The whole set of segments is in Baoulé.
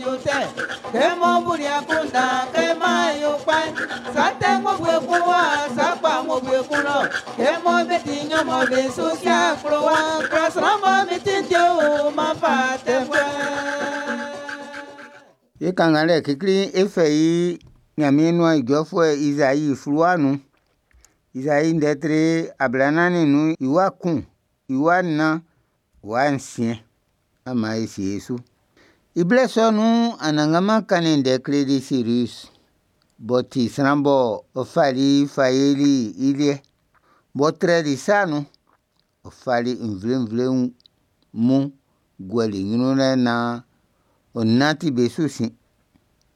yo tɛ. Kɛ mɔ buli akunndan kɛ m'an yo kpa'n, sa tɛ ng'ɔ bu ekun wa, sa kpa ng'ɔ bu ekun lɔ. Kɛ mɔ be ti nɲɔn mɔ be su si akplowa, klɔ sran mɔ be ti te o, m'an fa tɛfuɛ. E kannganlɛ klikli'n e fɛ i Ɲanmiɛn nuan ijɔfuɛ Izai fluwa'n nun. Izai ndɛ tre 45 i wa 1, i wa 4, wa 6. An maan e sie e su. I blɛ sɔ nun'n, Anannganman kannin ndɛ kleli Siris b'ɔ ti sran bɔ ɔ fali fa yoli i liɛ, b'ɔ trɛli i sa'n nun, ɔ fali nvle-nvle mun guɛli i nyrun lɛ nan ɔ nanti be su sin.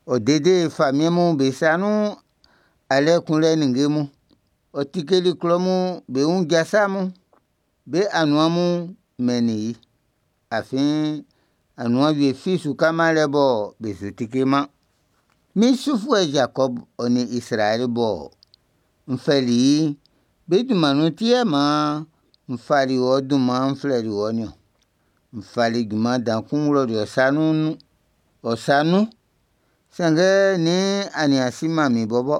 Ɔ dede famiɛn mun bé sa nun alɛ kunlɛ ninnge mun. Ɔ tikeli klɔ mun bé wun jasa mun. Be anuan mun mɛnnin i. Afin anuan wie fi su ka-man lɛ bɔ be su tike-man. Min sufuɛ Zakɔb ɔ nin Izraɛl bɔ n fɛli i'n, be dunman nun ti yɛ man n fali wɔ dunman'n n flɛli wɔ nin-ɔn. N fali junman dan kun n wlali ɔ́ sa nun, sanngɛ nian a nian si-man min bɔbɔ.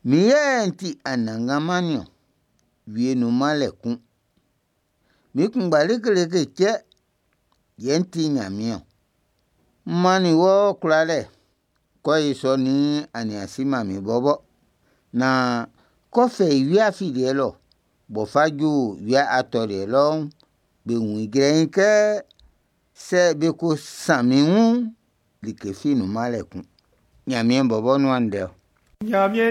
Min yɛ n ti Anannganman nin-ɔn, wie nun-man lɛ kun. Min kunngba leke leke cɛ yɛ n ti Nyanmiɛn-ɔn. M mannin wɔ kwlalɛ, kɛ ɔ ʼyo sɔ nn a nian si-man min bɔbɔ, nan k'ɔ fɛ i wia afiliɛ lɔ b'ɔ ʼfa ju wia atɔliɛ lɔ'n, be wun i jrɛiin kɛ sɛ be ko san min wun'n, like fi nun-man lɛ kun. Nyanmiɛn bɔbɔ nuan ndɛ-ɔ. Ɲanmiɛn.